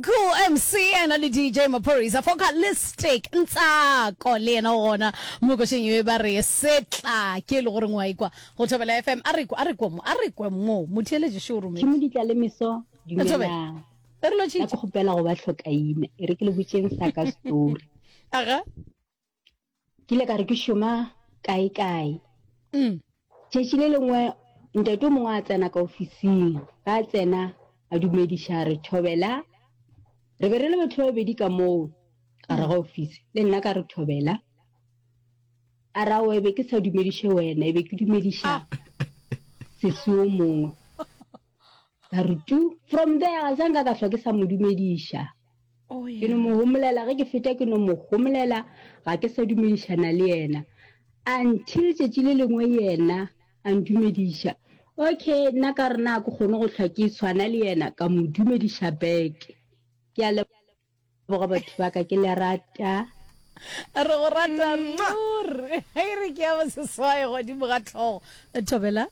Uncle MC ena le DJ Maphorisa Focalistic Ntsako le yena o gona mo košeng ye ba re setla ke e le goreng wa ikwa go Thobela FM a re kwe a re kwe mo a re kwe mo motheeletši šo o rometše Tšhimo di tla le meso Thobela dumelang. e re Nna lotšhitše ke kgopela go ba hlokaina e re ke le botšeng sa ka story. Aga. Ke ile ka re ke šoma kae kae. Mm. Tšatši le lengwe ntate o mongwe a tsena ka ofising, ga a tsena a dumediša re thobela. Re be re le batho ba babedi ka moo gare ga ofisi, le nna ka re thobela. A ra o be ke sa dumediše wena, e be ke dumediša Ah. sesi o mongwe. Ka re tu, from there ga sa nka ka hlwa ke sa mo dumediša. Oh, Ke no mo homolela ge ke feta ke no mo homolela ga ke sa dumedišana le yena until tšatši le lengwe yena a ntumediša. Okay nna ka re na ke kgone go hlwa ke tshwana le yena ka mo dumediša back. Ke a leboga batho ba ka ke le rata. Re go rata ruri. E re ke ya boseswai godimo ga tlhogo. Thobela.